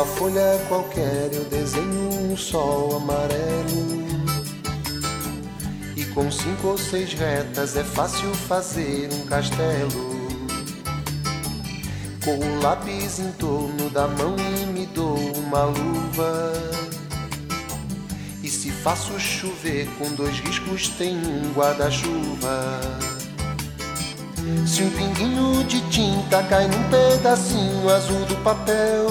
Numa folha qualquer eu desenho um sol amarelo, e com 5 ou 6 retas é fácil fazer um castelo. Com o lápis em torno da mão e me dou uma luva, e se faço chover com 2 riscos tem um guarda-chuva. Se um pinguinho de tinta cai num pedacinho azul do papel,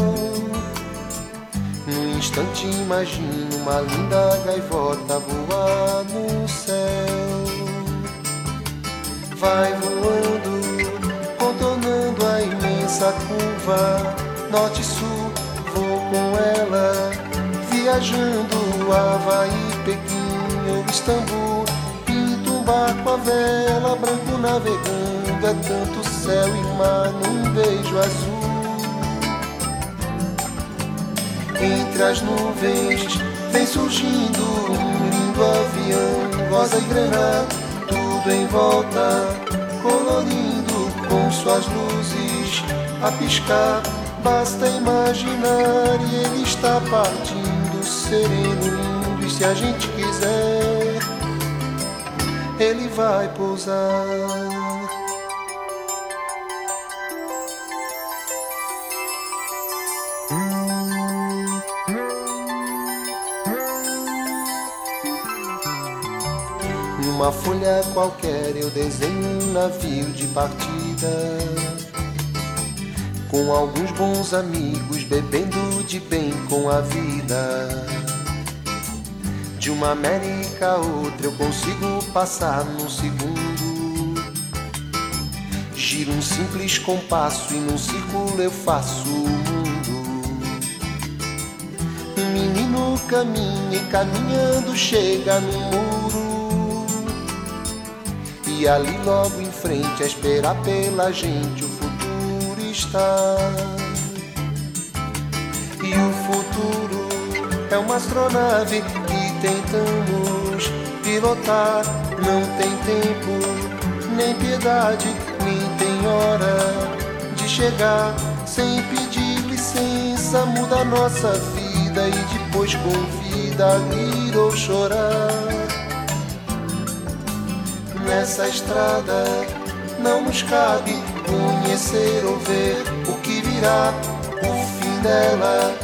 num instante imagino uma linda gaivota voar no céu. Vai voando, contornando a imensa curva, norte e sul, vou com ela, viajando Havaí, Pequim ou Istambul. Pinto um barco à vela, branco navegando, é tanto céu e mar num beijo azul. Entre as nuvens vem surgindo um lindo avião, rosa e grana, tudo em volta, colorindo com suas luzes a piscar. Basta imaginar e ele está partindo, sereno, lindo, e se a gente quiser, ele vai pousar. Numa folha qualquer eu desenho um navio de partida, com alguns bons amigos bebendo de bem com a vida. De uma América a outra eu consigo passar num segundo. Giro um simples compasso e num círculo eu faço o mundo. Um menino caminha e caminhando chega no muro, e ali logo em frente a esperar pela gente o futuro está. E o futuro é uma astronave que tentamos pilotar. Não tem tempo, nem piedade, nem tem hora de chegar. Sem pedir licença muda a nossa vida e depois convida a rir ou chorar. Nessa estrada não nos cabe conhecer ou ver o que virá, o fim dela.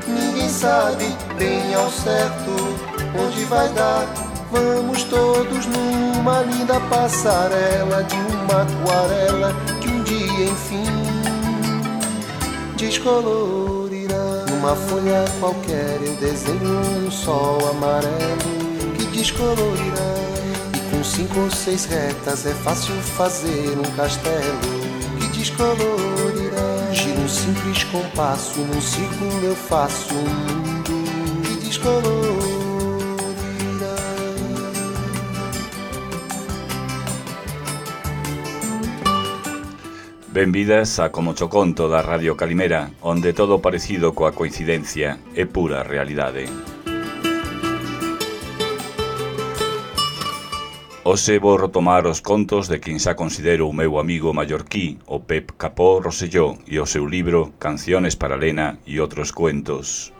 Ninguém sabe bem ao certo onde vai dar. Vamos todos numa linda passarela de uma aquarela que um dia enfim descolorirá. Numa folha qualquer eu desenho um sol amarelo que descolorirá. Com 5 ou 6 retas é fácil fazer um castelo que descolorirá. Giro um simples compasso, num círculo eu faço um mundo que descolorirá. Benvidas a Como cho conto da Radio Calimera, onde todo parecido coa coincidencia é pura realidade. Hoxe vou retomar os contos de quen xa considero o meu amigo mallorquí, o Pep Capó Rosselló, e o seu libro Canciones para Lena e outros cuentos.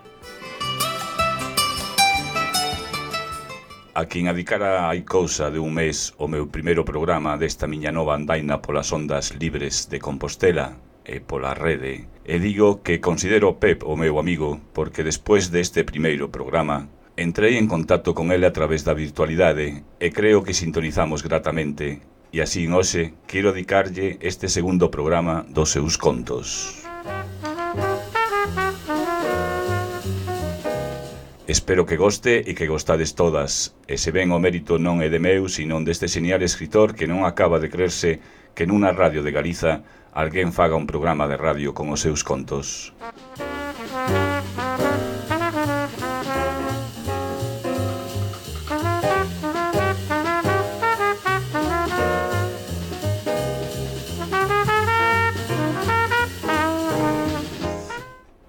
A quen adicara hai cousa de un mes o meu primeiro programa desta miña nova andaina polas ondas libres de Compostela e pola rede, e digo que considero Pep o meu amigo porque despois deste primeiro programa entrei en contacto con ele a través da virtualidade e creo que sintonizamos gratamente, e así hoxe quero dedicarlle este segundo programa dos seus contos. Espero que goste e que gostades todas, e se ben o mérito non é de meu, sino deste genial escritor que non acaba de creerse que nunha radio de Galiza alguén faga un programa de radio con os seus contos.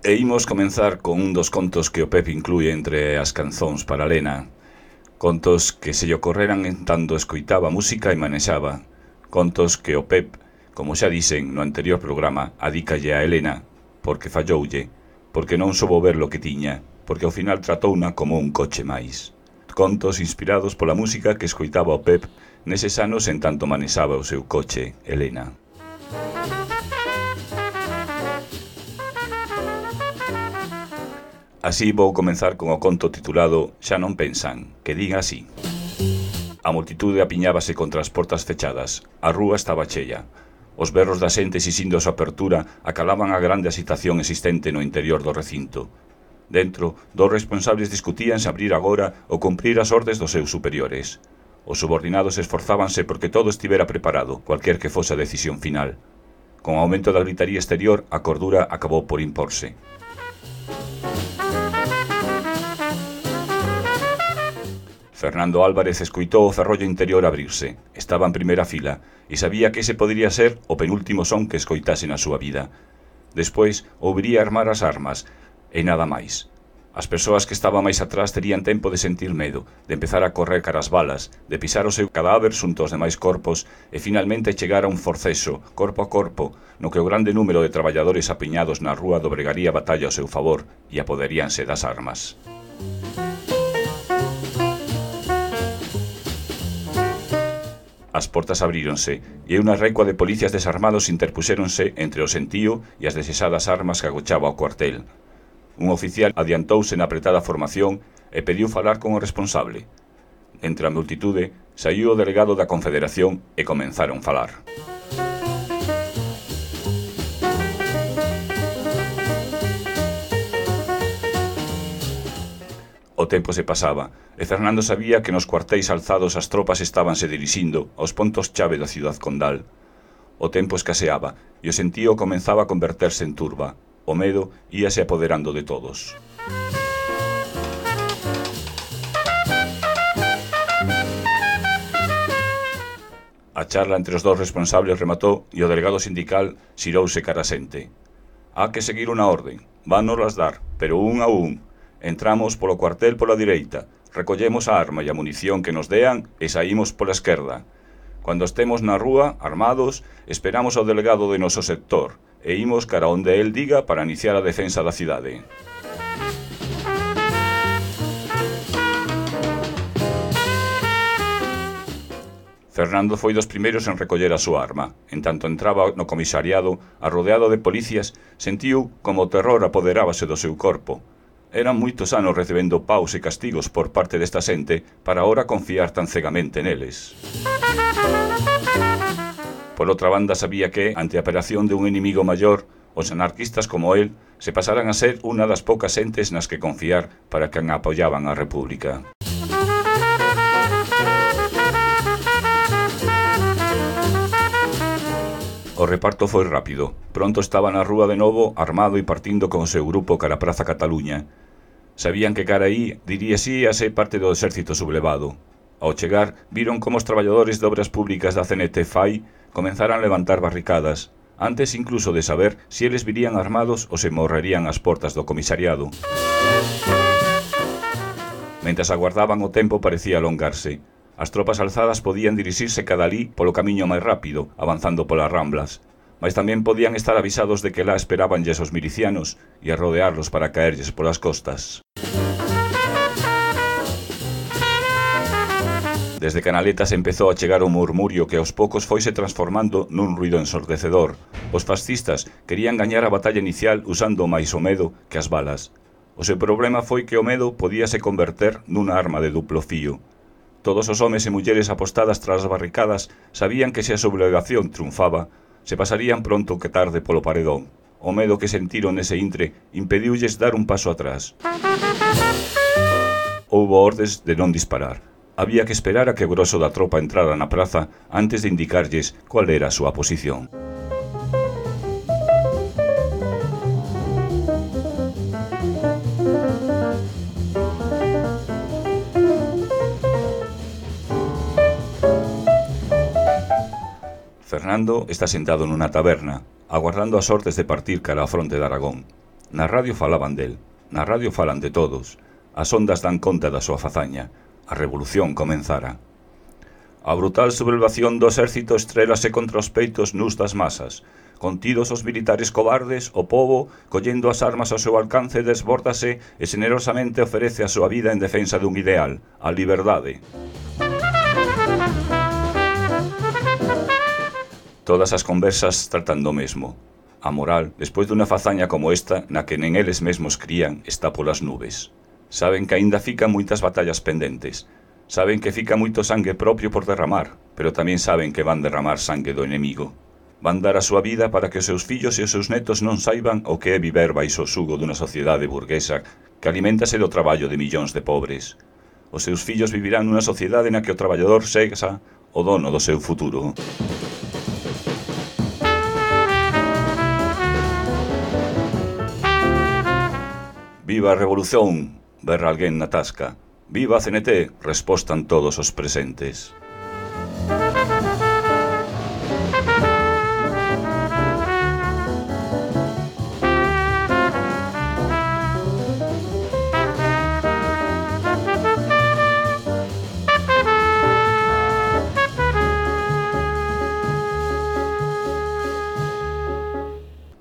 E imos comenzar con un dos contos que o Pep inclúe entre as canzóns para Lena. Contos que se lle ocorreran en tanto escoitaba música e manexaba. Contos que o Pep, como xa dixen no anterior programa, adícalle a Helena, porque falloulle, porque non soubo ver lo que tiña, porque ao final tratouna como un coche máis. Contos inspirados pola música que escoitaba o Pep neses anos en tanto manexaba o seu coche, Helena. Así vou comenzar con o conto titulado Xa non pensan, que diga así. A multitude apiñábase contra as portas fechadas, a rúa estaba chea. Os berros da xente exixindo a súa apertura acalaban a grande agitación existente no interior do recinto. Dentro, dous responsables discutían se abrir agora ou cumprir as ordes dos seus superiores. Os subordinados esforzábanse porque todo estivera preparado, cualquier que fose a decisión final. Con o aumento da gritaría exterior, a cordura acabou por imporse. Fernando Álvarez escoitou o ferrollo interior abrirse. Estaba en primeira fila e sabía que ese podería ser o penúltimo son que escoitase na súa vida. Despois, ouviría armar as armas, e nada máis. As persoas que estaban máis atrás terían tempo de sentir medo, de empezar a correr cara as balas, de pisar o seu cadáver xunto aos demais corpos e finalmente chegar a un forceso, corpo a corpo, no que o grande número de traballadores apiñados na rúa dobregaría a batalla ao seu favor e apoderíanse das armas. As portas abríronse e unha recua de policías desarmados interpuxéronse entre o sentío e as desexadas armas que agochaba o cuartel. Un oficial adiantouse na apretada formación e pediu falar con o responsable. Entre a multitude, saiu o delegado da Confederación e comenzaron a falar. O tempo se pasaba, e Fernando sabía que nos cuartéis alzados as tropas estabanse dirixindo aos pontos chave da ciudad condal. O tempo escaseaba, e o sentío comenzaba a converterse en turba. O medo íase apoderando de todos. A charla entre os dous responsables rematou e o delegado sindical xirouse cara a xente. Há que seguir unha orden, vánoslas dar, pero un a un. Entramos polo cuartel pola direita, recollemos a arma e a munición que nos dean e saímos pola esquerda. Cando estemos na rúa, armados, esperamos ao delegado de noso sector e imos cara onde el diga para iniciar a defensa da cidade. Fernando foi dos primeiros en recoller a súa arma. En tanto entraba no comisariado, arrodeado de policías, sentiu como o terror apoderábase do seu corpo. Eran moitos anos recebendo paus e castigos por parte desta xente para ahora confiar tan cegamente neles. Por outra banda, sabía que, ante a operación de un inimigo maior, os anarquistas como él se pasaran a ser unha das poucas xentes nas que confiar para quen apoiaban a República. O reparto foi rápido. Pronto estaba na rúa de novo, armado e partindo con o seu grupo cara a Praza Cataluña. Sabían que cara aí diríasíase parte do exército sublevado. Ao chegar, viron como os traballadores de obras públicas da CNT-FAI comenzaran a levantar barricadas, antes incluso de saber se eles virían armados ou se morrerían ás portas do comisariado. Mentras aguardaban, o tempo parecía alongarse. As tropas alzadas podían dirixirse cada alí polo camiño máis rápido, avanzando polas ramblas, mas tamén podían estar avisados de que lá esperabanlles os milicianos e a rodearlos para caerlles polas costas. Desde Canaletas empezou a chegar o murmurio que aos poucos foise transformando nun ruido ensordecedor. Os fascistas querían gañar a batalla inicial usando máis o medo que as balas. O seu problema foi que o medo podíase converter nunha arma de duplo fío. Todos os homes e mulleres apostadas tras as barricadas sabían que se a sublevación triunfaba, se pasarían pronto que tarde polo paredón. O medo que sentiron nese intre impediulles dar un paso atrás. Houbo ordes de non disparar. Había que esperar a que o groso da tropa entrara na praza antes de indicarlles cual era a súa posición. Fernando está sentado nunha taberna, aguardando as ordes de partir cara á fronte de Aragón. Na radio falaban del, na radio falan de todos. As ondas dan conta da súa fazaña. A revolución comenzara. A brutal sublevación do exército estrélase contra os peitos nus das masas. Contidos os militares cobardes, o pobo, collendo as armas ao seu alcance, desbórdase e generosamente ofrece a súa vida en defensa dun ideal, a liberdade. Todas as conversas tratan do mesmo. A moral, despois dunha fazaña como esta, na que nen eles mesmos crían, está polas nubes. Saben que aínda fican moitas batallas pendentes. Saben que fica moito sangue propio por derramar, pero tamén saben que van derramar sangue do enemigo. Van dar a súa vida para que os seus fillos e os seus netos non saiban o que é viver baixo o xugo dunha sociedade burguesa que aliméntase do traballo de millóns de pobres. Os seus fillos vivirán nunha sociedade na que o traballador sexa o dono do seu futuro. Viva a revolución, berra alguén na tasca. Viva a CNT, respostan todos os presentes.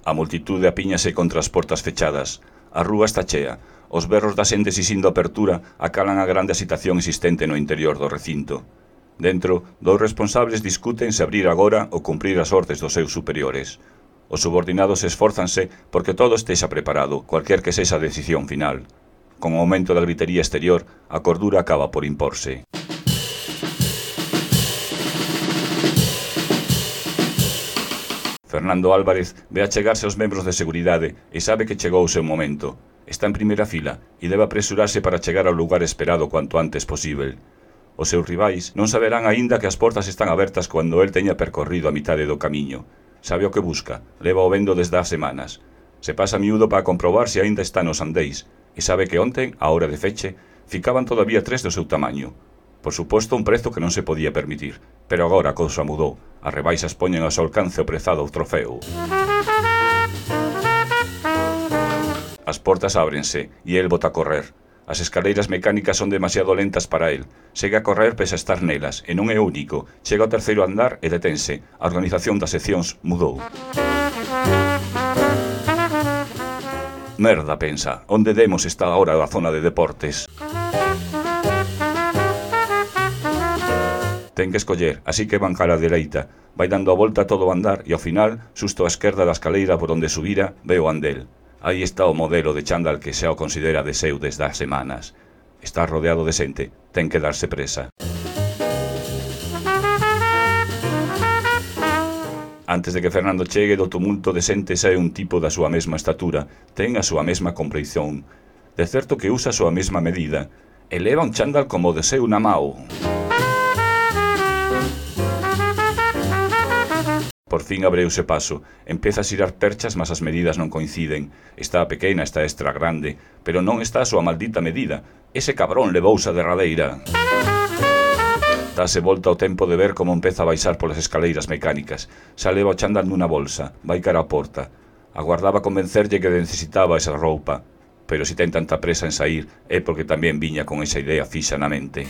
A multitude apíñase contra as portas fechadas. A rúa está chea. Os berros da xente sisindo apertura acalan a grande agitación existente no interior do recinto. Dentro, dous responsables discuten se abrir agora ou cumprir as ordes dos seus superiores. Os subordinados esfórzanse porque todo estexa preparado, cualquier que sexa a decisión final. Con o aumento da gritería exterior, a cordura acaba por imporse. Fernando Álvarez ve achegarse aos membros de seguridade e sabe que chegou o seu momento. Está en primeira fila e debe apresurarse para chegar ao lugar esperado cuanto antes posível. Os seus rivais non saberán aínda que as portas están abertas cando el teña percorrido a mitade do camiño. Sabe o que busca, leva o vendo desde as semanas. Se pasa miúdo para comprobar se aínda está nos andeis e sabe que onten, á hora de feche, ficaban todavía 3 do seu tamaño. Por suposto, un prezo que non se podía permitir, pero agora a cousa mudou. As rebaixas poñen ao seu alcance o prezado trofeo. As portas ábrense e el bota a correr. As escaleiras mecánicas son demasiado lentas para el. Segue a correr pese a estar nelas, e non é único. Chega ao terceiro andar e detense. A organización das seccións mudou. Merda, pensa, onde demos está agora a zona de deportes? Ten que escoller, así que van cara a dereita. Vai dando a volta a todo o andar e ao final, xusto á esquerda da escaleira por onde subira, ve o andel. Aí está o modelo de chándal que xa o considera de seu desde as semanas. Está rodeado de xente, ten que darse presa. Antes de que Fernando chegue do tumulto de xente sae un tipo da súa mesma estatura, ten a súa mesma compleición. De certo que usa a súa mesma medida. E leva un chándal como de seu na mao. Por fin abreuse paso, empeza a xirar perchas, mas as medidas non coinciden. Está pequena, está extra grande, pero non está a súa maldita medida. Ese cabrón levouse a derradeira. Dase volta ao tempo de ver como empeza a baixar polas escaleiras mecánicas. Xa leva o chándal nunha bolsa, vai cara á porta. Aguardaba convencerlle que necesitaba esa roupa, pero se ten tanta presa en saír é porque tamén viña con esa idea fixa na mente.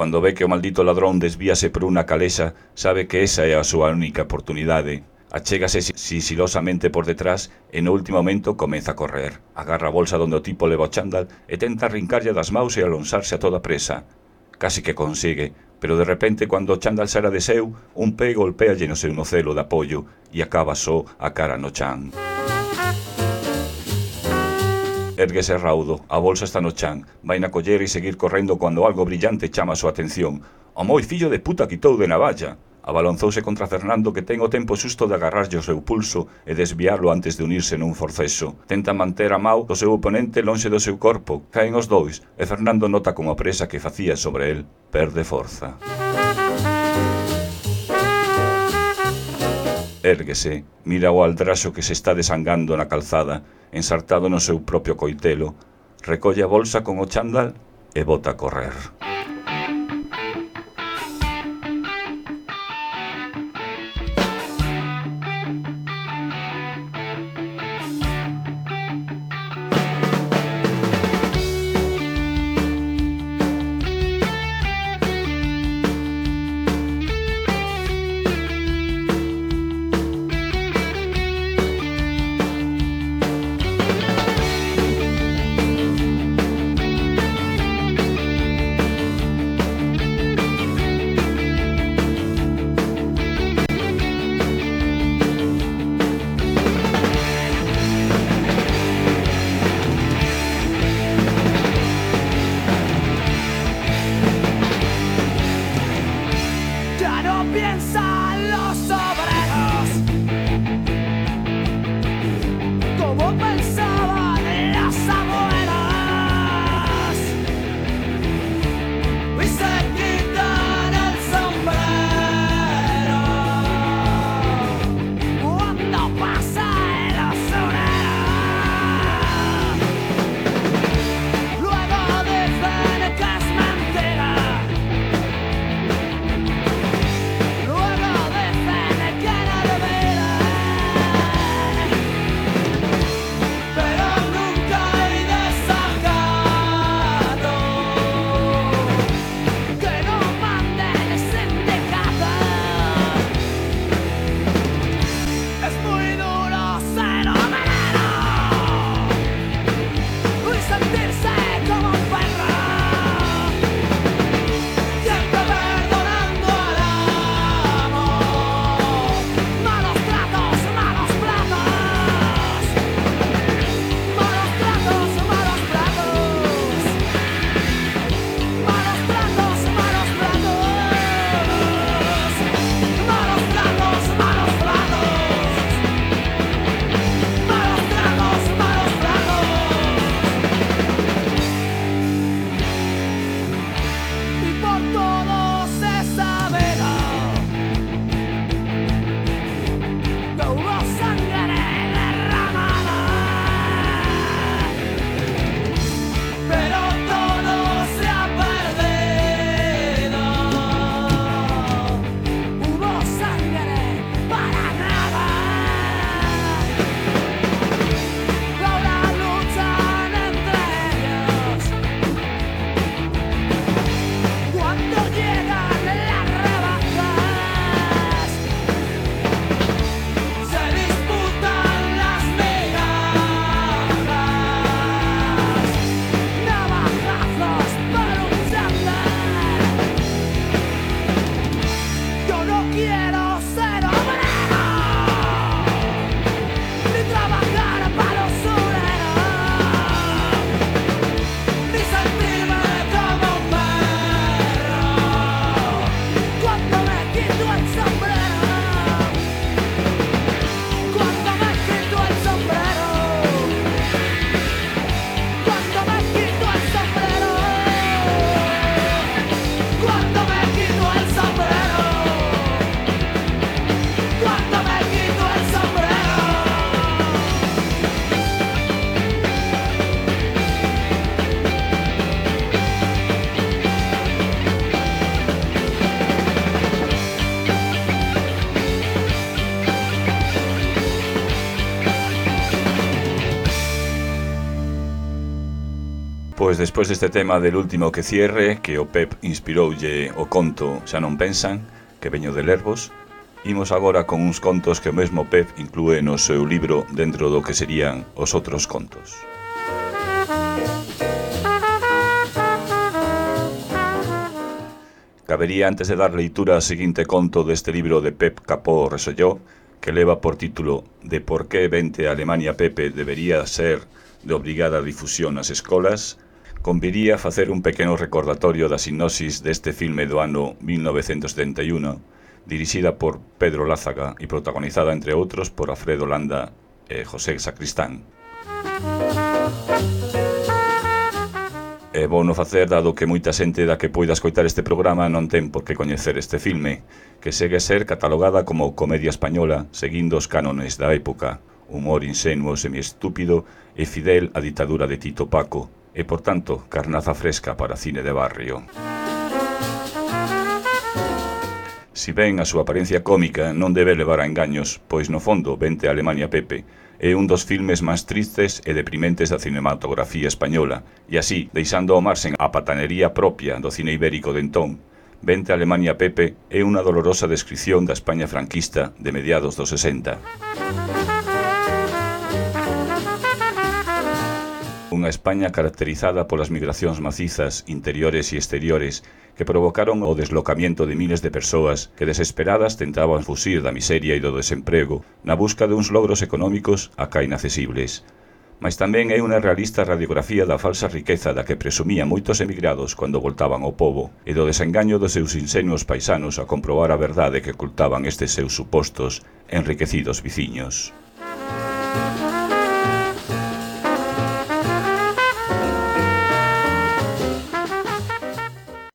Cando ve que o maldito ladrón desvíase por unha calexa, sabe que esa é a súa única oportunidade. Achégase sigilosamente por detrás e no último momento comeza a correr. Agarra a bolsa onde o tipo leva o chándal e tenta arrincarlle das maus e alonsarse a toda presa. Casi que consigue, pero de repente, cando o chándal saera de seu, un pé golpéalle no seu nocelo de apoio e acaba só a cara no chan. Érguese raudo, a bolsa está no chan, vai na coller e seguir correndo cando algo brillante chama a súa atención. O moi fillo de puta quitou de navalla. Abalonzouse contra Fernando, que ten o tempo xusto de agarrarlle o seu pulso e desviarlo antes de unirse nun forceso. Tenta manter a mau do seu oponente lonxe do seu corpo. Caen os dois e Fernando nota como a presa que facía sobre el perde forza. Érguese, mira o aldraxo que se está desangando na calzada, ensartado no seu propio coitelo, recolle a bolsa con o chándal e bota a correr. Pois despois deste tema del último que cierre, que o Pep inspiroulle o conto Xa non pensan, que veño de Lervos, imos agora con uns contos que o mesmo Pep inclúe no seu libro dentro do que serían os outros contos. Cabería antes de dar leitura ao seguinte conto deste libro de Pep Capó Resolló, que leva por título De por que vente a Alemania Pepe debería ser de obrigada difusión nas escolas, conviría facer un pequeno recordatorio da sinopsis deste filme do ano 1971, dirixida por Pedro Lázaga e protagonizada, entre outros, por Alfredo Landa e José Sacristán. É bono facer, dado que moita xente da que poida escoitar este programa non ten por que coñecer este filme, que segue a ser catalogada como comedia española, seguindo os cánones da época, humor insenuo, semiestúpido e fidel á ditadura de Tito Paco, e, por tanto, carnaza fresca para cine de barrio. Si ben a súa apariencia cómica non debe levar a engaños, pois no fondo Vente a Alemania Pepe é un dos filmes máis tristes e deprimentes da cinematografía española, e así, deixando ao marxen a patanería propia do cine ibérico de entón, Vente a Alemania Pepe é unha dolorosa descripción da España franquista de mediados dos 60. Unha España caracterizada polas migracións macizas, interiores e exteriores, que provocaron o deslocamento de miles de persoas que desesperadas tentaban fuxir da miseria e do desemprego na busca de uns logros económicos acá inaccesibles. Mais tamén é unha realista radiografía da falsa riqueza da que presumían moitos emigrados cando voltaban ao pobo e do desengaño dos seus insenuos paisanos a comprobar a verdade que ocultaban estes seus supostos enriquecidos viciños.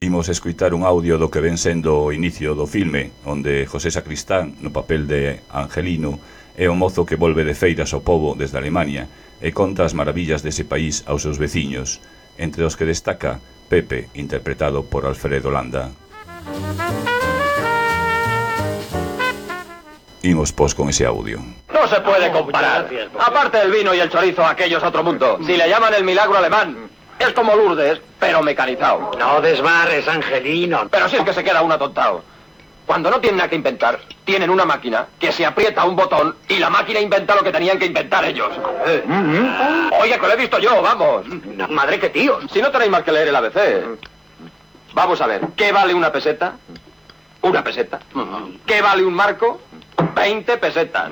Imos escoitar un audio do que ven sendo o inicio do filme, onde José Sacristán, no papel de Angelino, é o mozo que volve de feiras ao pobo desde Alemania e conta as maravillas dese país aos seus veciños, entre os que destaca Pepe, interpretado por Alfredo Landa. Imos pos con ese audio. No se puede comparar. Aparte del vino y el chorizo, aquello es otro mundo. Si le llaman el milagro alemán, es como Lourdes, pero mecanizado. No desbarres, Angelino. Pero si es que se queda uno atontado. Cuando no tienen nada que inventar, tienen una máquina que se aprieta un botón y la máquina inventa lo que tenían que inventar ellos. Oye, que lo he visto yo, vamos. Madre que tío. Si no tenéis más que leer el ABC. Vamos a ver, ¿qué vale una peseta? Una peseta. ¿Qué vale un marco? 20 pesetas.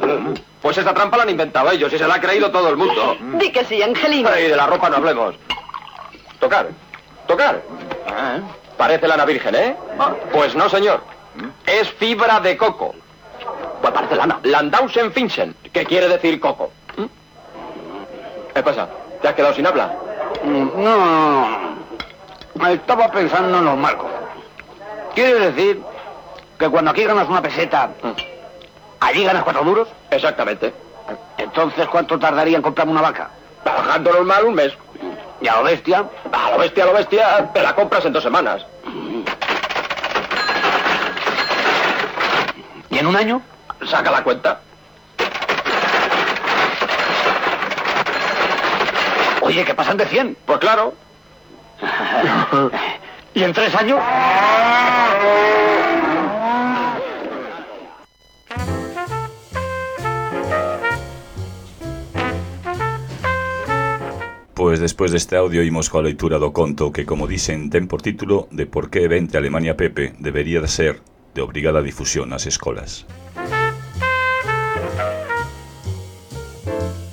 Pues esa trampa la han inventado ellos y se la ha creído todo el mundo. Di que sí, Angelino. Y de la ropa no hablemos. Tocar. Tocar. Parece lana virgen, ¿eh? Pues no, señor. Es fibra de coco. Pues parece lana. Landausen Finchen, que quiere decir coco. ¿Qué pasa? ¿Te has quedado sin habla? No. Estaba pensando en los marcos. ¿Quiere decir que cuando aquí ganas una peseta, allí ganas 4 duros? Exactamente. Entonces, ¿cuánto tardaría en comprarme una vaca? Trabajando normal un mes. ¿Y a lo bestia? A lo bestia, te la compras en 2 semanas. ¿Y en un año? Saca la cuenta. Oye, que pasan de 100. Pues claro. ¿Y en 3 años? Pois despois deste audio imos coa leitura do conto que, como dixen, ten por título De por que Vente a Alemania Pepe debería de ser de obrigada difusión nas escolas.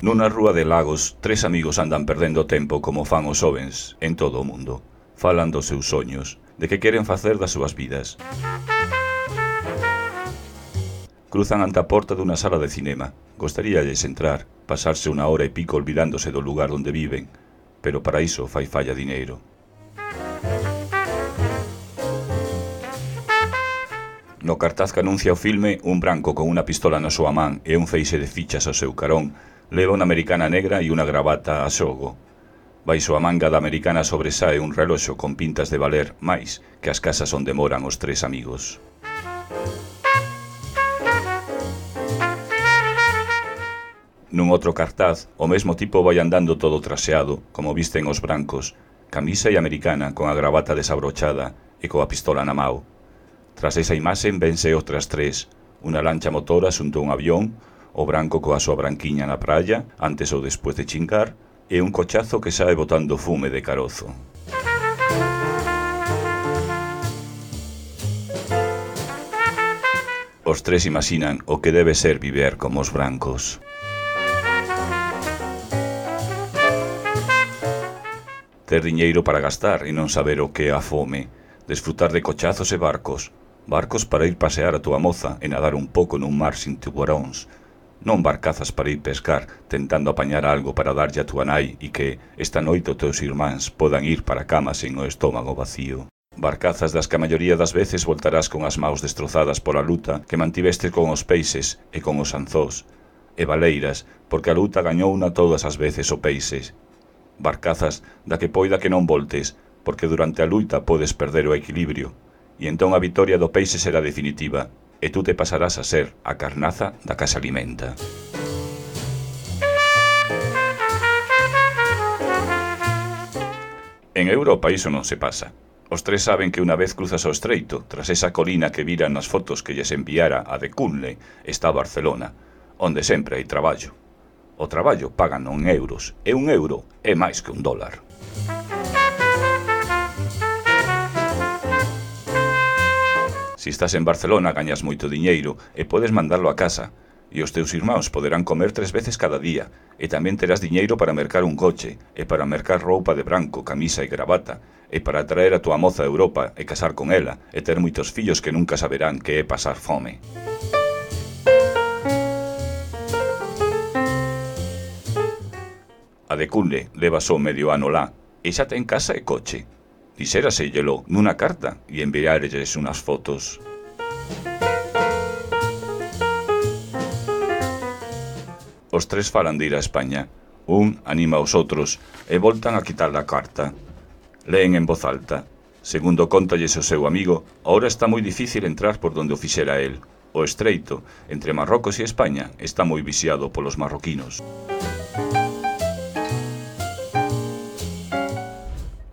Nunha rúa de Lagos, 3 amigos andan perdendo tempo como fan os xovens en todo o mundo. Falan dos seus soños, de que queren facer das súas vidas. Cruzan ante a porta dunha sala de cinema. Gostaríalles entrar, pasarse unha hora e pico olvidándose do lugar onde viven, pero para iso fai falla dineiro. No cartaz que anuncia o filme, un branco con unha pistola na súa man e un feixe de fichas ao seu carón leva unha americana negra e unha gravata a xogo. Baixo a manga da americana sobresae un reloxo con pintas de valer máis que as casas onde moran os 3 amigos. Nun outro cartaz, o mesmo tipo vai andando todo traseado, como visten os brancos, camisa e americana con a gravata desabrochada e coa pistola na mao. Tras esa imaxe vense outras tres, unha lancha motora xunto a un avión, o branco coa súa branquiña na praia, antes ou despois de chincar, e un cochazo que sae botando fume de carozo. Os tres imaxinan o que debe ser viver como os brancos. Ter diñeiro para gastar e non saber o que é a fome, desfrutar de cochazos e barcos para ir pasear a túa moza e nadar un pouco nun mar sin tubaróns, non barcazas para ir pescar tentando apañar algo para darlle a túa nai e que esta noite os teus irmáns podan ir para a cama sen o estómago vacío. Barcazas das que a maioría das veces voltarás con as maus destrozadas pola luta que mantiveste con os peixes e con os anzós, e baleiras, porque a luta gañouna todas as veces o peixes. Barcazas da que poida que non voltes, porque durante a luita podes perder o equilibrio, e entón a vitoria do peixe será definitiva, e tú te pasarás a ser a carnaza da que se alimenta. En Europa iso non se pasa. Os tres saben que unha vez cruzas o estreito, tras esa colina que viran nas fotos que lles enviara a de Cunley, está Barcelona, onde sempre hai traballo. O traballo pagan en euros, e un euro é máis que un dólar. Si estás en Barcelona gañas moito diñeiro e podes mandarlo a casa, e os teus irmáns poderán comer 3 veces cada día, e tamén terás diñeiro para mercar un coche, e para mercar roupa de branco, camisa e gravata, e para traer a túa moza a Europa e casar con ela, e ter moitos fillos que nunca saberán que é pasar fome. A de Cunle leva só medio ano lá, e xa ten casa e coche. Dixérasellelo nunha carta e enviarelles unhas fotos. Os tres falan de ir a España. Un anima aos outros e voltan a quitar a carta. Leen en voz alta. Segundo contalles o seu amigo, ahora está moi difícil entrar por donde o fixera el. O estreito, entre Marrocos e España, está moi viciado polos marroquinos.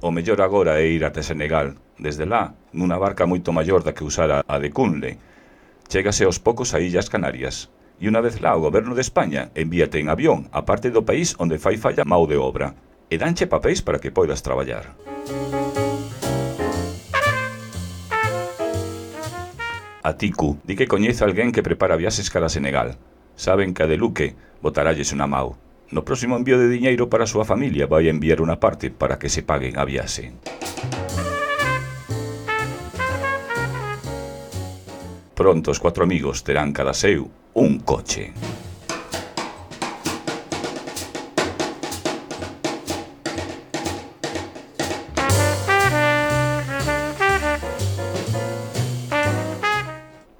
O mellor agora é ir até Senegal. Desde lá, nunha barca moito maior da que usara a de Cunle, chégase aos poucos a Illas Canarias. E unha vez lá o goberno de España envíate en avión a parte do país onde fai falla mao de obra e danche papéis para que poidas traballar. A Tiku di que coñece alguén que prepara viaxes cara a Senegal. Saben que a de Luque botaralles unha mao. No próximo envío de diñeiro para a súa familia vai enviar unha parte para que se paguen a viaxe. Pronto os 4 amigos terán cada seu un coche.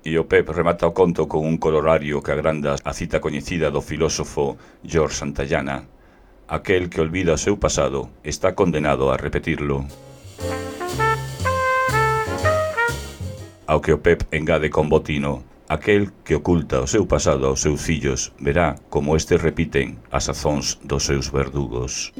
E o Pep remata o conto con un colorario que agranda a cita coñecida do filósofo George Santayana: aquel que olvida o seu pasado está condenado a repetirlo. Ao que o Pep engade con botino: aquel que oculta o seu pasado aos seus fillos verá como estes repiten as azóns dos seus verdugos.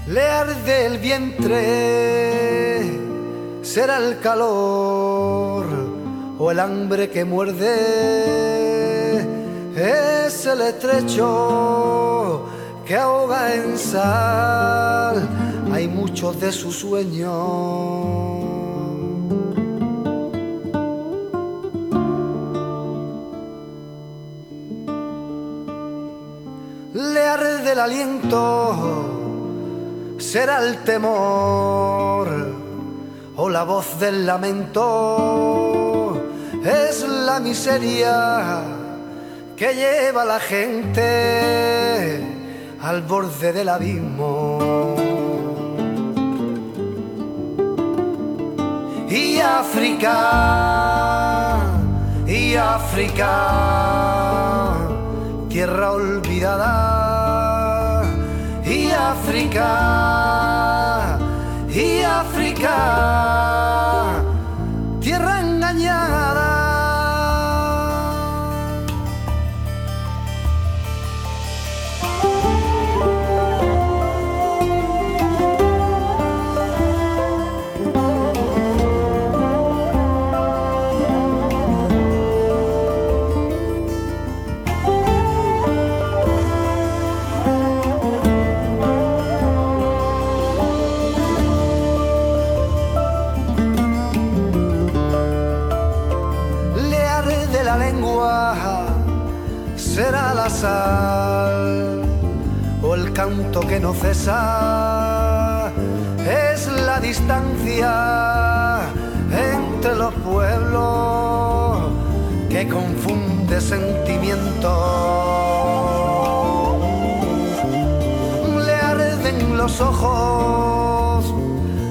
Le arde el vientre, será el calor o el hambre que muerde, es el estrecho que ahoga en sal, hay muchos de sus sueños. Le arde el aliento, será el temor o la voz del lamento, es la miseria que lleva a la gente al borde del abismo. Y África, tierra olvidada, y África, tierra engañada. Será la sal o el canto que no cesa, es la distancia entre los pueblos que confunde sentimientos. Le arden los ojos,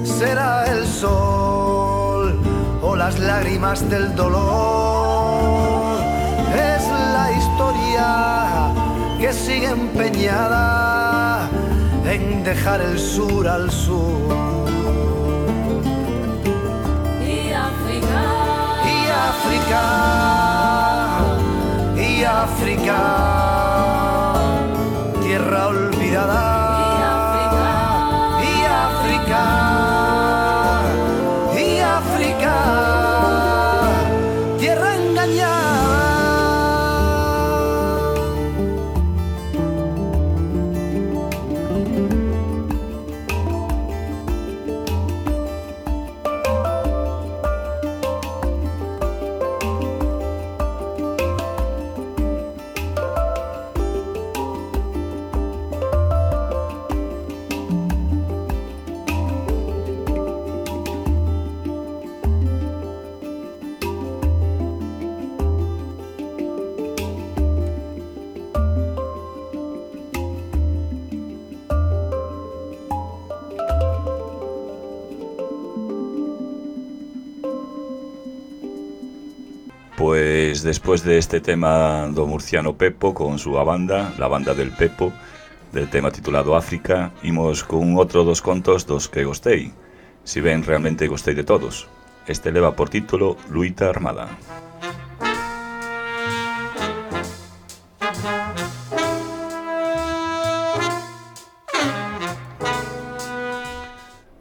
será el sol o las lágrimas del dolor, es la historia que sigue empeñada en dejar el sur al sur. Y África, tierra olvidada. Y África, tierra engañada. Pues después de este tema do murciano Pepo con súa banda, la banda del Pepo, del tema titulado África, imos con outro dos contos dos que gostei, si ben realmente gostei de todos. Este leva por título Luita Armada.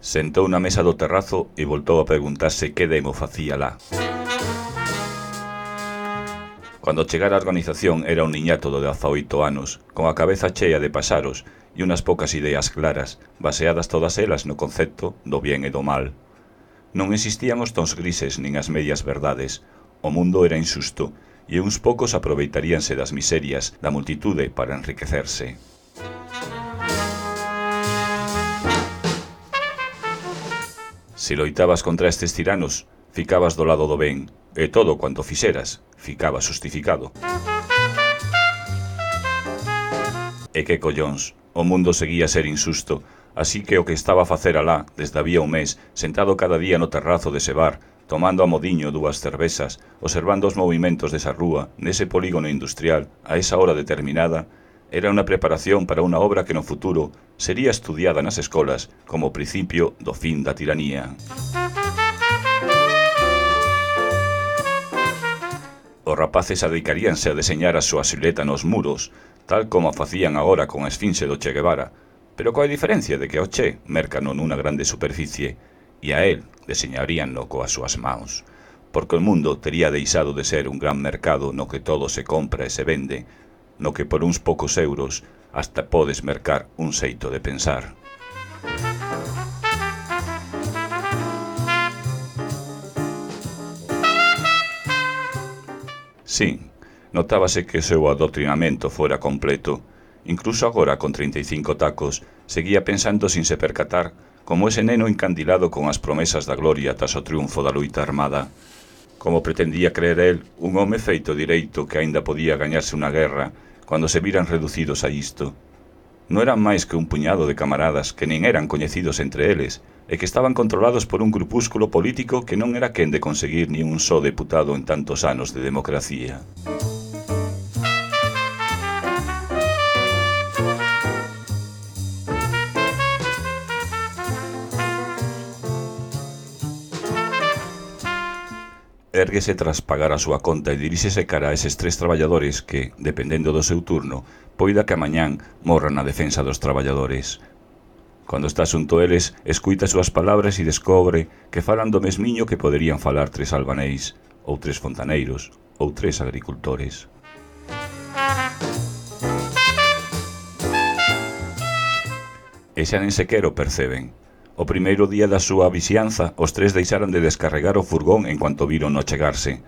Sentou na mesa do terrazo e voltou a preguntarse que demo facía lá. Cando chegara a organización era un niñato de 18 anos, con a cabeza chea de paxaros e unhas poucas ideas claras, baseadas todas elas no concepto do bien e do mal. Non existían os tons grises nin as medias verdades, o mundo era injusto, e uns poucos aproveitaríanse das miserias da multitude para enriquecerse. Se loitabas contra estes tiranos, ficabas do lado do ben, e todo cuanto fixeras, ficaba xustificado. E que collóns, o mundo seguía a ser injusto, así que o que estaba a facer alá, desde había un mes, sentado cada día no terrazo dese bar, tomando a modiño dúas cervezas, observando os movimentos desa rúa, nese polígono industrial, a esa hora determinada, era unha preparación para unha obra que no futuro sería estudiada nas escolas como principio do fin da tiranía. Os rapaces adicaríanse a deseñar a súa silhueta nos muros, tal como a facían agora con a esfinxe do Che Guevara, pero coa diferencia de que ao Che mercano nunha grande superficie e a él deseñaríanlo coas súas maus, porque o mundo tería deixado de ser un gran mercado no que todo se compra e se vende, no que por uns poucos euros hasta podes mercar un xeito de pensar. Sí, notábase que o seu adoctrinamento fora completo. Incluso agora, con 35 tacos, seguía pensando sin se percatar como ese neno encandilado con as promesas da gloria tras o triunfo da loita armada. Como pretendía creer el, un home feito direito que aínda podía gañarse unha guerra cando se viran reducidos a isto. Non eran máis que un puñado de camaradas que nin eran coñecidos entre eles e que estaban controlados por un grupúsculo político que non era quen de conseguir ni un só deputado en tantos anos de democracia. Érguese tras pagar a súa conta e diríxese cara a eses 3 traballadores que, dependendo do seu turno, poida que amañán morran na defensa dos traballadores. Cando está xunto eles, escuita as súas palabras e descobre que falan do mesmiño que poderían falar 3 albaneis, ou 3 fontaneiros, ou 3 agricultores. E xa nen sequer o perceben. O primeiro día da súa vixianza, os 3 deixaran de descarregar o furgón en cuanto viron no chegarse.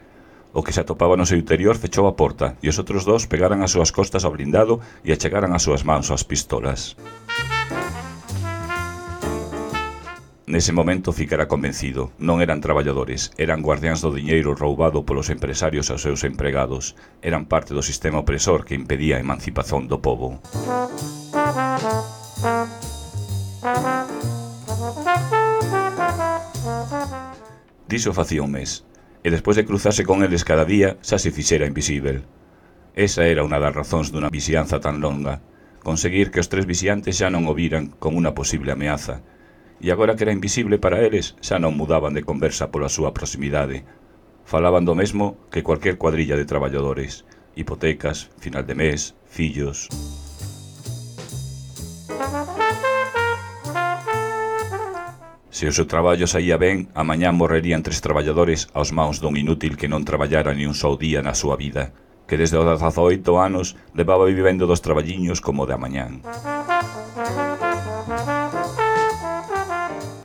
O que se atopaba no seu interior fechou a porta e os outros 2 pegaran as súas costas ao blindado e achegaran as súas mans ás pistolas. Nese momento ficara convencido, non eran traballadores, eran guardiáns do diñeiro roubado polos empresarios aos seus empregados, eran parte do sistema opresor que impedía a emancipación do pobo. Diso facía un mes, e despois de cruzarse con eles cada día, xa se fixera invisível. Esa era unha das razóns dunha vixianza tan longa, conseguir que os 3 vixiantes xa non o viran como unha posible ameaza, e agora que era invisible para eles, xa non mudaban de conversa pola súa proximidade. Falaban do mesmo que cualquier cuadrilla de traballadores, hipotecas, final de mes, fillos. Se o seu traballo saía ben, amañá morrerían 3 traballadores aos maus dun inútil que non traballara ni un só día na súa vida, que desde os 18 anos levaba vivendo dos traballiños como de amañán.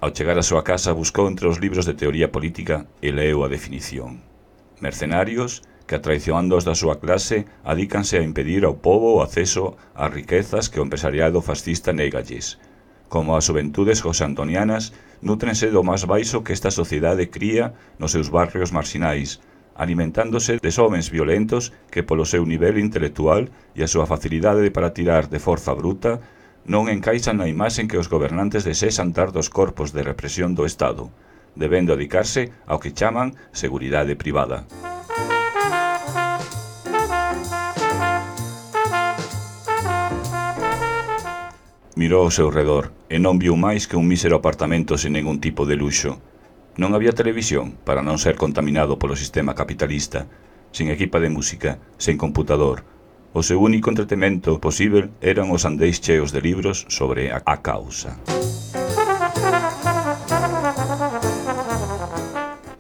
Ao chegar á súa casa buscou entre os libros de teoría política e leu a definición. Mercenarios que, atraicionándoos da súa clase, adícanse a impedir ao pobo o acceso ás riquezas que o empresariado fascista négalles. Como as xuventudes josantonianas, nútrense do máis baixo que esta sociedade cría nos seus barrios marxinais, alimentándose de homens violentos que polo seu nivel intelectual e a súa facilidade para tirar de forza bruta non encaixan na imaxe que os gobernantes desexan dar dos corpos de represión do Estado, debendo dedicarse ao que chaman seguridade privada. Mirou ao seu redor e non viu máis que un mísero apartamento sen ningún tipo de luxo. Non había televisión para non ser contaminado polo sistema capitalista, sin equipa de música, sen computador. O seu único entretemento posível eran os andeis cheos de libros sobre a causa.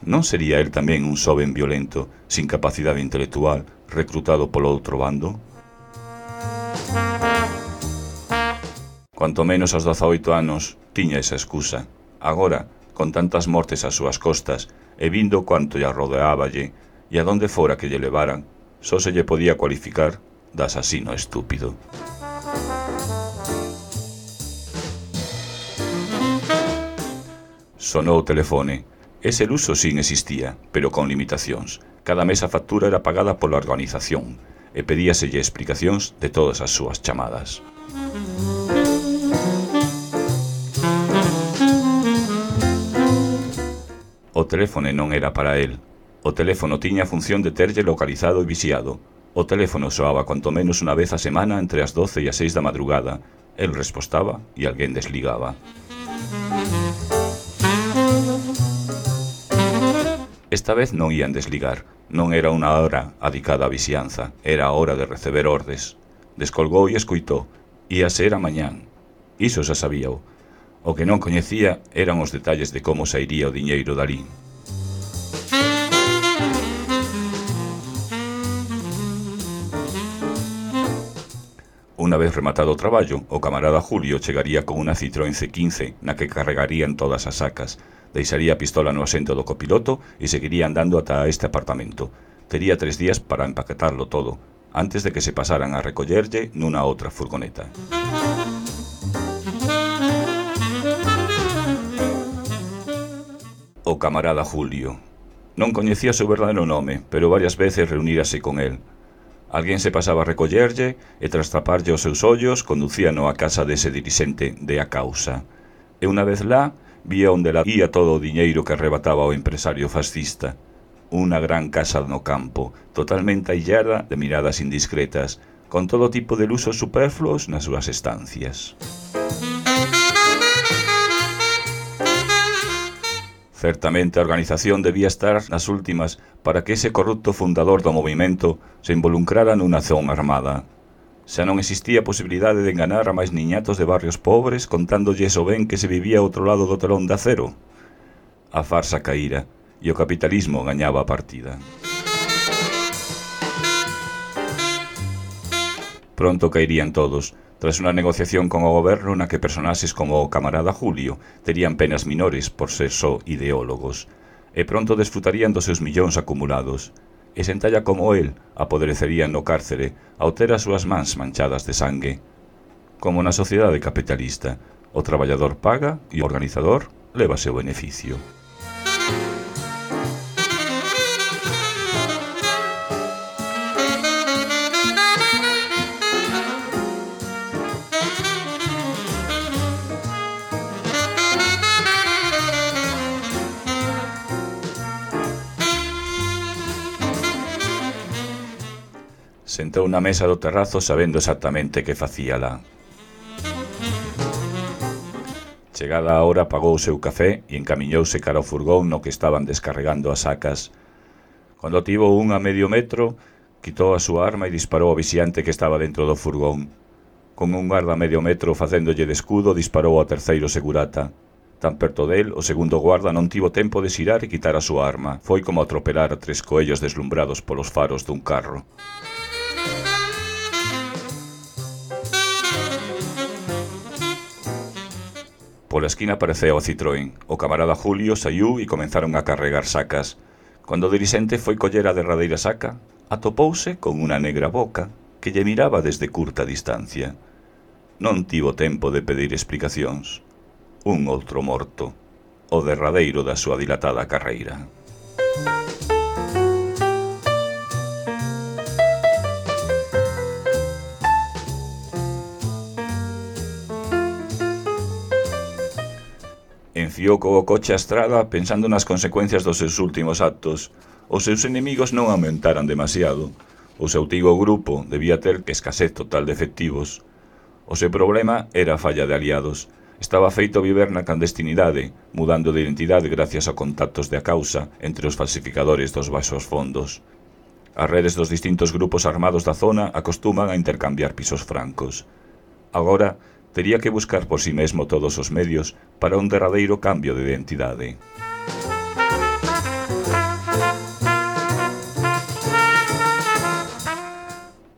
Non sería el tamén un xoven violento, sin capacidade intelectual, reclutado polo outro bando? Cuanto menos aos 18 anos, tiña esa excusa. Agora, con tantas mortes ás súas costas, e vindo cuanto lle rodeáballe, e a donde fora que lle levaran, só se lle podía cualificar de asasino estúpido. Sonou o telefone. Ese luxo sin existía, pero con limitacións. Cada mes a factura era pagada pola organización, e pedíaselle explicacións de todas as súas chamadas. O teléfono non era para el. O teléfono tiña a función de terlle localizado e vixiado. O teléfono soaba cuanto menos unha vez a semana entre as 12 e as 6 da madrugada. El respostaba e alguén desligaba. Esta vez non ían desligar. Non era unha hora adicada á vixianza, era a hora de receber ordes. Descolgou e escoitou. Ia ser a mañán. Iso xa sabíao. O que non coñecía eran os detalles de como sairía o diñeiro dalí. Unha vez rematado o traballo, o camarada Julio chegaría con unha Citroën C15 na que carregarían todas as sacas, deixaría a pistola no asento do copiloto e seguiría andando ata este apartamento. Tería 3 días para empaquetarlo todo, antes de que se pasaran a recollerlle nunha outra furgoneta. O camarada Julio. Non coñecía o seu verdadeiro nome, pero varias veces reunírase con el. Alguén se pasaba a recollerlle e tras taparlle os seus ollos conducíano á casa dese dirixente de A Causa. E unha vez lá, vía onde la ía todo o diñeiro que arrebataba o empresario fascista. Unha gran casa no campo, totalmente aillada de miradas indiscretas, con todo tipo de luxos superfluos nas súas estancias. Certamente a organización debía estar nas últimas para que ese corrupto fundador do movimento se involucrara nunha acción armada. Xa non existía posibilidade de enganar a máis niñatos de barrios pobres contándolles o ben que se vivía ao outro lado do telón de acero. A farsa caíra e o capitalismo gañaba a partida. Pronto caerían todos, tras unha negociación con o goberno na que personaxes como o camarada Julio terían penas minores por ser só ideólogos, e pronto desfrutarían dos seus millóns acumulados, e sentalla como el apodrecerían no cárcere ao ter as súas mans manchadas de sangue. Como na sociedade capitalista, o traballador paga e o organizador leva seu beneficio. Sentou na mesa do terrazo sabendo exactamente que facía lá. Chegada a hora pagou o seu café e encamiñouse cara ao furgón no que estaban descarregando as sacas. Cando tivo un a medio metro, quitou a súa arma e disparou ao vixiante que estaba dentro do furgón. Con un guarda a medio metro facéndolle de escudo, disparou ao terceiro segurata. Tan perto del, o segundo guarda non tivo tempo de xirar e quitar a súa arma. Foi como atropelar a 3 coellos deslumbrados polos faros dun carro. Pola esquina apareceu o Citroën. O camarada Julio saiu e comenzaron a carregar sacas. Cando o dirixente foi coller a derradeira saca, atopouse con unha negra boca que lle miraba desde curta distancia. Non tivo tempo de pedir explicacións. Un outro morto, o derradeiro da súa dilatada carreira. Enfiou co coche a estrada pensando nas consecuencias dos seus últimos actos. Os seus enemigos non aumentaran demasiado. O seu antigo grupo debía ter escasez total de efectivos. O seu problema era a falla de aliados. Estaba feito viver na clandestinidade, mudando de identidade gracias a contactos de A Causa entre os falsificadores dos baixos fondos. As redes dos distintos grupos armados da zona acostuman a intercambiar pisos francos. Agora, tería que buscar por si mesmo todos os medios para un derradeiro cambio de identidade.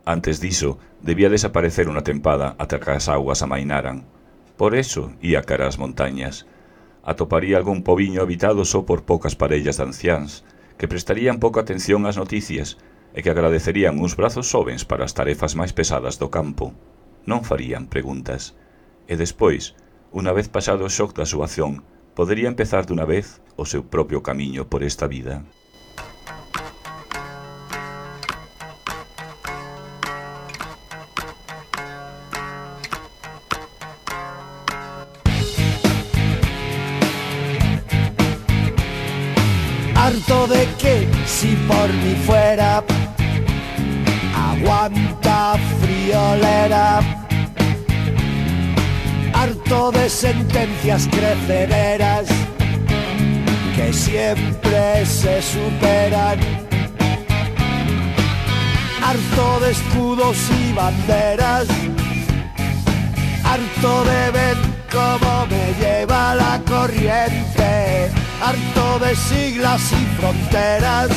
Antes diso, debía desaparecer unha tempada ata que as augas amainaran. Por eso, ía cara ás montañas. Atoparía algún pobiño habitado só por poucas parellas de anciáns, que prestarían pouca atención ás noticias e que agradecerían uns brazos xovens para as tarefas máis pesadas do campo. Non farían preguntas. E despois, unha vez pasado o shock da súa acción, podería empezar dunha vez o seu propio camiño por esta vida. Harto de que, si por mí fuera, aguanta friolera. Harto de sentencias crecederas que siempre se superan. Harto de escudos y banderas. Harto de ver cómo me lleva la corriente. Harto de siglas y fronteras.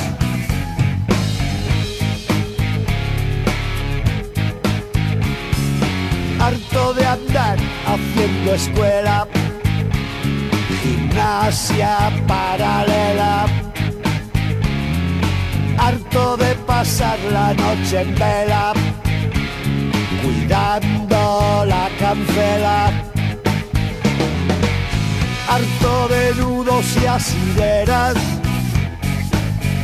estudiando escuela, gimnasia paralela, harto de pasar la noche en vela, cuidando la cancela, harto de nudos y asideras,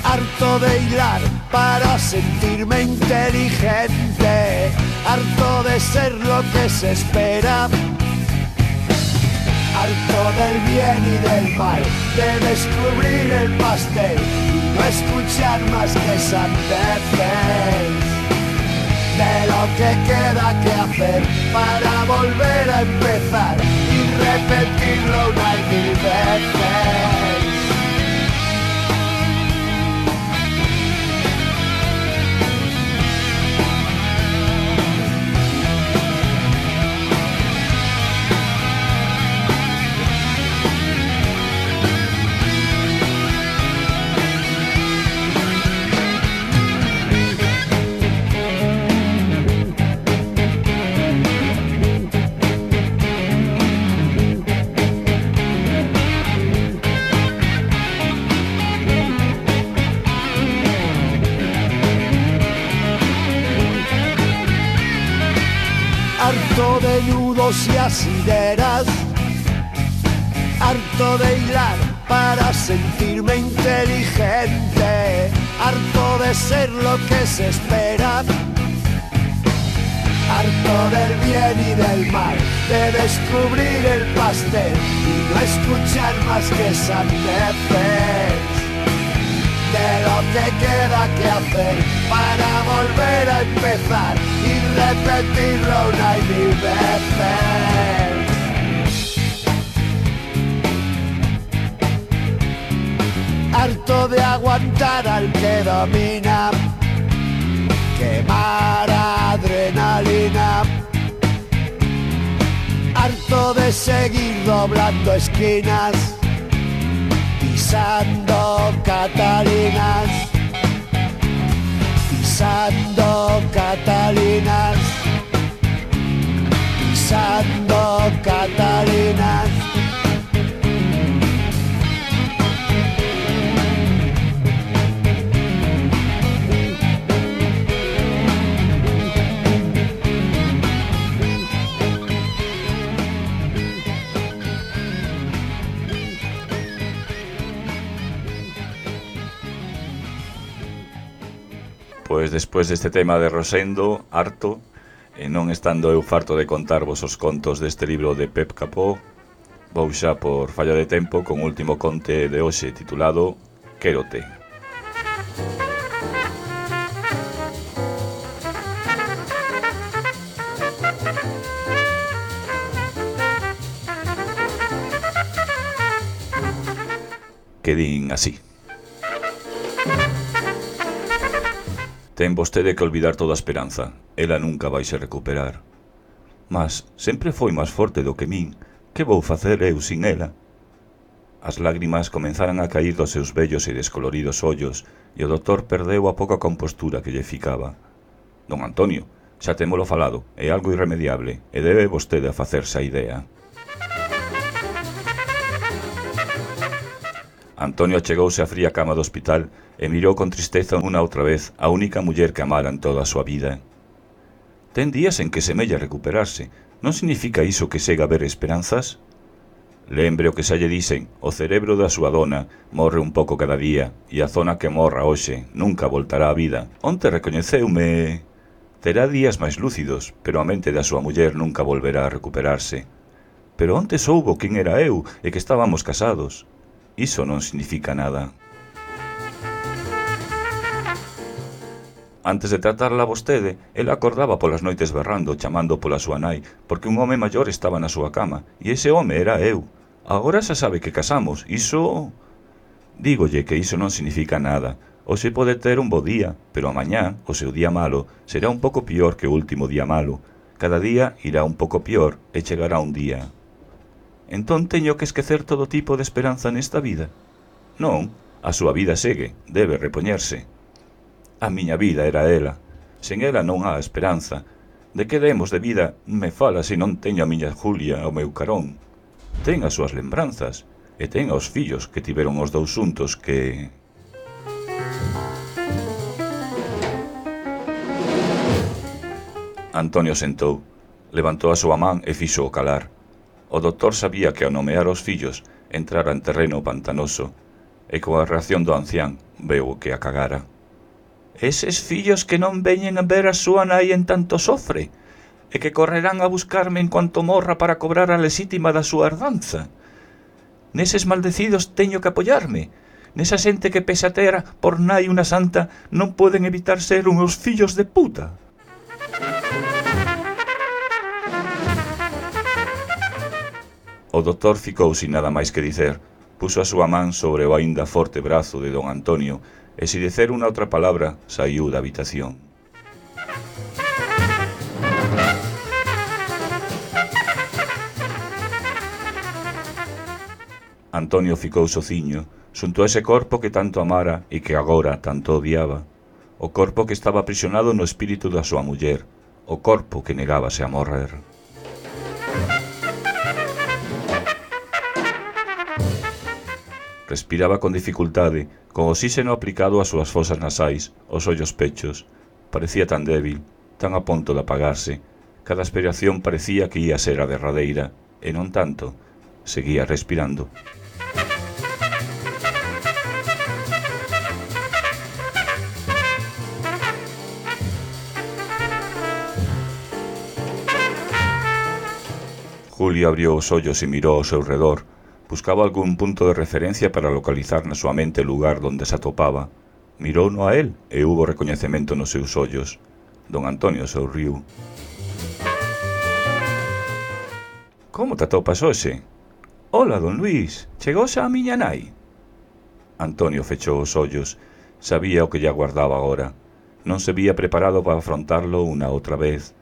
harto de hilar para sentirme inteligente, harto de ser lo que se espera, harto del bien y del mal, de descubrir el pastel y no escuchar más que sandeces, de lo que queda que hacer para volver a empezar y repetirlo una y mil veces. Harto de nudos y asideras, harto de hilar para sentirme inteligente, harto de ser lo que se espera, harto del bien y del mal, de descubrir el pastel y no escuchar más que sandeces, de lo que queda que hacer para volver a empezar y repetirlo una y mil veces. Harto de aguantar al que domina, quemar adrenalina, harto de seguir doblando esquinas, pisando Catalinas, pisando Catalinas, pisando Catalinas. Pois despois deste tema de Rosendo, harto, e non estando eu farto de contarvos os contos deste libro de Pep Capó, vou xa por falla de tempo con o último conte de hoxe titulado Quérote. Que din así. Ten vostede que olvidar toda a esperanza, ela nunca vai se recuperar. Mas sempre foi máis forte do que min, que vou facer eu sin ela? As lágrimas comenzaran a cair dos seus bellos e descoloridos ollos, e o doutor perdeu a pouca compostura que lle ficaba. Don Antonio, xa témolo falado, é algo irremediable, e debe vostede a facerse a idea. Antonio achegouse á fría cama do hospital e mirou con tristeza unha outra vez a única muller que amara en toda a súa vida. Ten días en que semella recuperarse, non significa iso que sega ver esperanzas? Lembre o que xa lle dicen, o cerebro da súa dona morre un pouco cada día e a zona que morra hoxe nunca voltará á vida. Onte recoñeceume... Terá días máis lúcidos, pero a mente da súa muller nunca volverá a recuperarse. Pero onte soubo quen era eu e que estábamos casados. Iso non significa nada. Antes de tratarla a vostede, ela acordaba polas noites berrando, chamando pola súa nai, porque un home maior estaba na súa cama, e ese home era eu. Agora xa sabe que casamos, iso... Dígolle que iso non significa nada. Hoxe pode ter un bo día, pero amañá, o seu día malo, será un pouco pior que o último día malo. Cada día irá un pouco pior e chegará un día. Entón teño que esquecer todo tipo de esperanza nesta vida? Non, a súa vida segue, debe repoñerse. A miña vida era ela. Sen ela non há esperanza. De que demos de vida me fala se non teño a miña Julia ao meu carón? Ten as súas lembranzas, e ten aos fillos que tiveron os dous xuntos que... Antonio sentou, levantou a súa man e fixo o calar. O doutor sabía que ao nomear os fillos entrara en terreno pantanoso, e coa reacción do ancián veu que a cagara. Eses fillos que non veñen a ver a súa nai en tanto sofre, e que correrán a buscarme en cuanto morra para cobrar a lexítima da súa herdanza. Neses maldecidos teño que apoiarme. Nesa xente que pese a ter por nai unha santa non poden evitar ser uns fillos de puta. O doutor ficou sin nada máis que dicer, puxo a súa man sobre o aínda forte brazo de don Antonio e, sin dicer unha outra palabra, saiu da habitación. Antonio ficou sociño, xunto a ese corpo que tanto amara e que agora tanto odiaba, o corpo que estaba aprisionado no espírito da súa muller, o corpo que negábase a morrer. Respiraba con dificultade, con oxíxeno aplicado ás súas fosas nasais, aos ollos pechos. Parecía tan débil, tan a punto de apagarse. Cada aspiración parecía que ia ser a derradeira, e non tanto, seguía respirando. Julio abriu os ollos e mirou ao seu redor. Buscaba algún punto de referencia para localizar na súa mente o lugar donde se atopaba. Mirouno a él e hubo recoñecemento nos seus ollos. Don Antonio sorriu. Como te atopas hoxe? Ola, don Luís, chegouse a miña nai? Antonio fechou os ollos. Sabía o que lle aguardaba agora. Non se vía preparado para afrontarlo unha outra vez.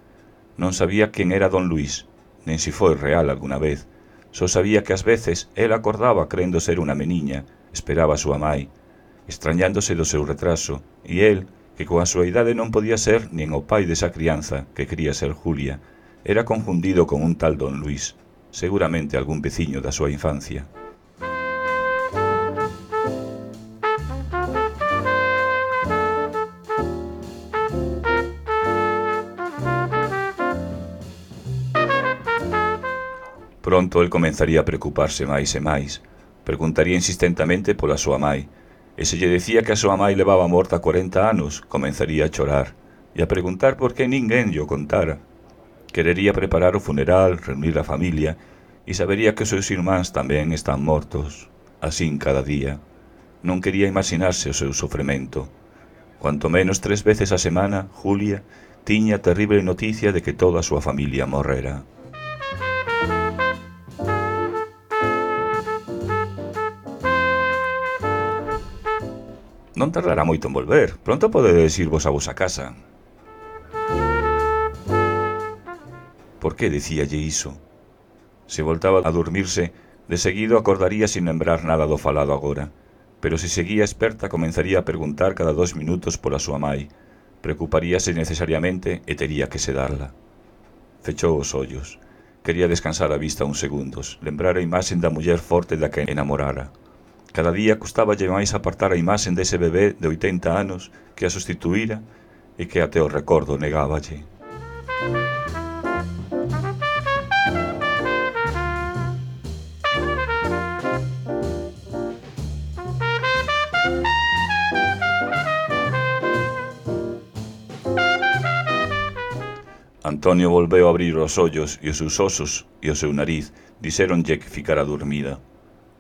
Non sabía quen era don Luís, nen si foi real alguna vez. Só sabía que ás veces él acordaba crendo ser unha meniña, esperaba a súa mai, extrañándose do seu retraso, e él, que coa súa idade non podía ser nin o pai desa crianza que quería ser Julia, era confundido con un tal don Luís, seguramente algún veciño da súa infancia. Pronto el comenzaría a preocuparse máis e máis. Preguntaría insistentemente pola súa mai, e se lle decía que a súa mai levaba morta 40 anos, comenzaría a chorar, e a preguntar por que ninguén lle o contara. Querería preparar o funeral, reunir a familia, e sabería que os seus irmáns tamén están mortos. Asín cada día. Non quería imaginarse o seu sofrimento. Cuanto menos 3 veces a semana, Julia tiña a terrible noticia de que toda a súa familia morrera. Non tardará moito en volver. Pronto podedes irvos a vosa casa. Por que dicíalle iso? Se voltaba a dormirse, de seguido acordaría sin lembrar nada do falado agora. Pero se seguía esperta, comenzaría a preguntar cada 2 minutos pola súa mai. Preocuparíase necesariamente e tería que sedarla. Fechou os ollos. Quería descansar a vista uns segundos, lembrar a imaxen da muller forte da que enamorara. Cada día costáballe máis apartar a imaxen dese bebé de 80 anos que a sustituíra e que até o recordo negáballe. Antonio volveu a abrir os ollos e os seus osos e o seu nariz dixéronlle que ficara dormida.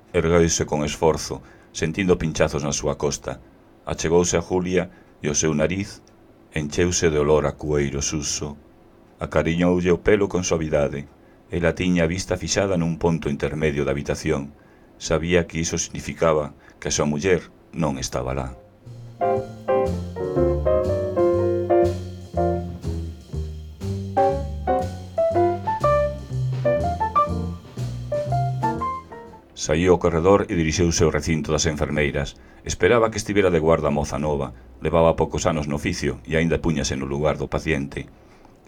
Ergueuse con esforzo, sentindo pinchazos na súa costa. Achegouse a Julia e o seu nariz encheuse de olor a cueiro suso. Acariñoulle o pelo con suavidade. Ela tiña a vista fixada nun ponto intermedio da habitación. Sabía que iso significaba que a súa muller non estaba lá. Saíu ao corredor e dirixiuse ao recinto das enfermeiras. Esperaba que estivera de guarda a moza nova. Levaba poucos anos no oficio e aínda púñase no lugar do paciente.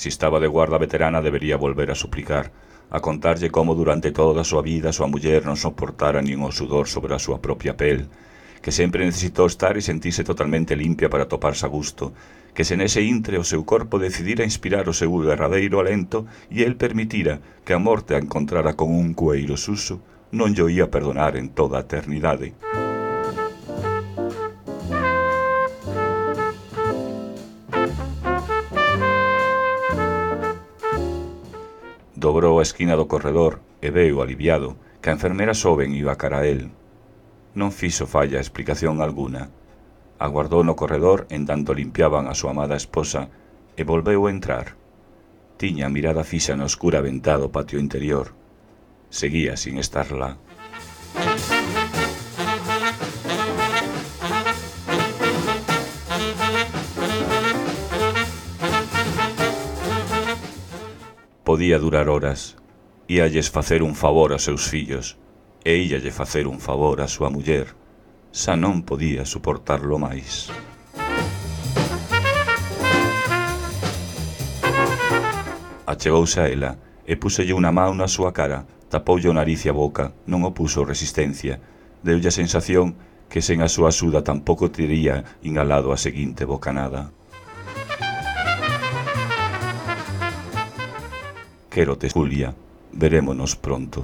Si estaba de guarda veterana debería volver a suplicar, a contarlle como durante toda a súa vida a súa muller non soportara nin o sudor sobre a súa propia pel, que sempre necesitou estar e sentirse totalmente limpia para toparse a gusto, que se nese intre o seu corpo decidira inspirar o seu derradeiro alento e el permitira que a morte a encontrara con un cueiro suso, non llo ia perdonar en toda a eternidade. Dobrou a esquina do corredor e veu, aliviado, que a enfermera xoven iba cara a el. Non fixo falla explicación alguna. Aguardou no corredor en tanto limpiaban a súa amada esposa e volveu a entrar. Tiña a mirada fixa na oscura ventá do patio interior. Seguía sin estar lá. Podía durar horas. Íalles facer un favor aos seus fillos e íalle facer un favor á súa muller. Xa non podía suportarlo máis. Achegouse a ela e púselle unha mão na súa cara, tapoulle o nariz e a boca, non opuso resistencia. Deulle a sensación que sen a súa axuda tampouco tería inhalado a seguinte bocanada. Quérote, Julia. Verémonos pronto.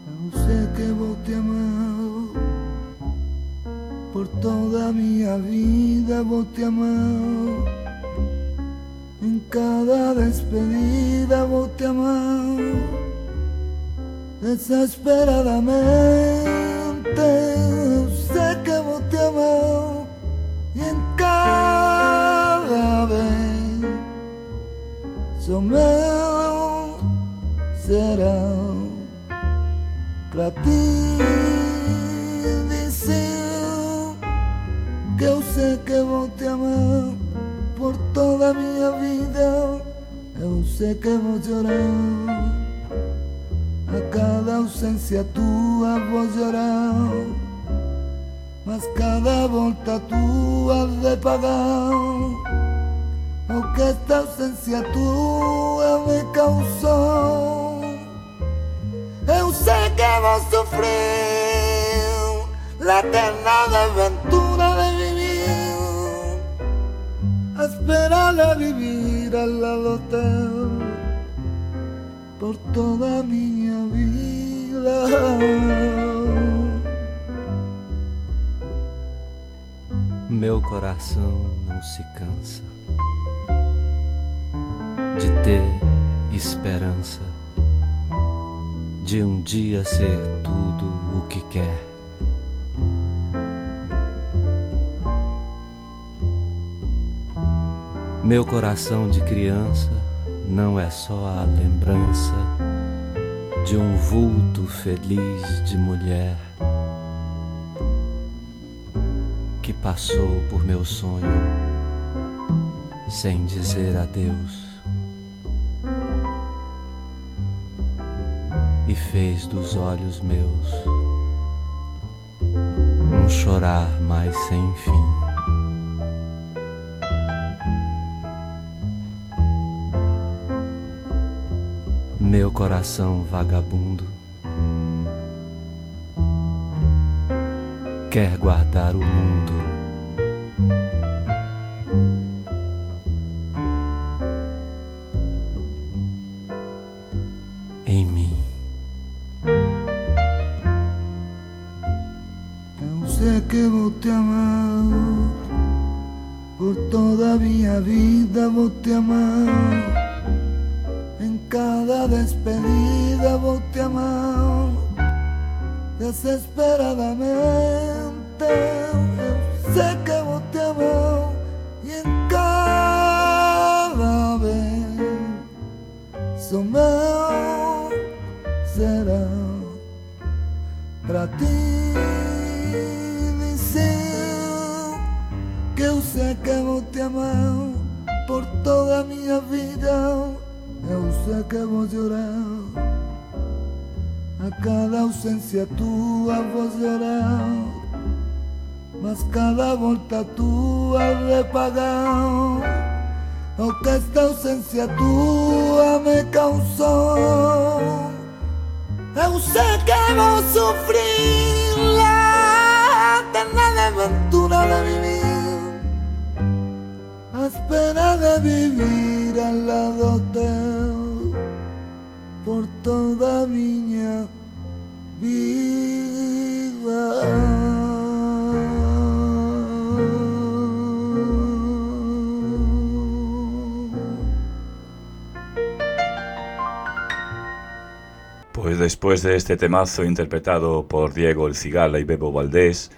Eu sei que vou te amar por toda a minha vida, vou te amar em cada despedida, vou te amar desesperadamente. Eu sei que vou te amar e em cada vez sou meu será pra ti dizer que eu sei que vou te amar por toda a minha vida. Eu sei que vou chorar a cada ausência tua, vou chorar, mas cada volta tua de pagar o que esta ausência tua me causou. Eu sei que vou sofrer la eterna aventura de vivir, a esperar a vivir al lado teu por toda a minha vida. Meu coração não se cansa de ter esperança de um dia ser tudo o que quer. Meu coração de criança não é só a lembrança de um vulto feliz de mulher que passou por meu sonho sem dizer adeus e fez dos olhos meus um chorar mais sem fim. Meu coração vagabundo quer guardar o mundo em mim. Eu sei que vou te amar por toda a minha vida, vou te amar em cada despedida, vou te amar desesperadamente. Eu sei que vou te amar e em cada vez sou meu será pra ti dizer que eu sei que vou te amar por toda a minha vida. Eu sei que vou llorar, a cada ausencia tua vou llorar, mas cada volta tua de pagar o que esta ausencia tua me causou. Eu sei que vou sofrer la eterna aventura de vivir, a espera de vivir ao lado teu por toda a minha vida. Pues después de este temazo interpretado por Diego El Cigala y Bebo Valdés,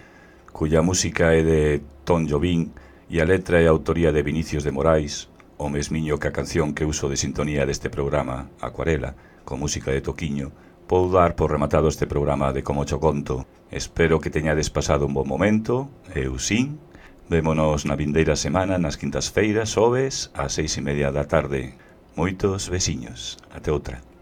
cuya música é de Tom Jobim e a letra é autoría de Vinicius de Moraes, o mesmiño que a canción que uso de sintonía deste programa, Acuarela, con música de Toquiño, vou dar por rematado este programa de Como Cho Conto. Espero que teñades pasado un bon momento, eu sin. Vémonos na vindeira semana nas quintas-feiras, xoves, ás 6:30 da tarde. Moitos besiños. Até outra.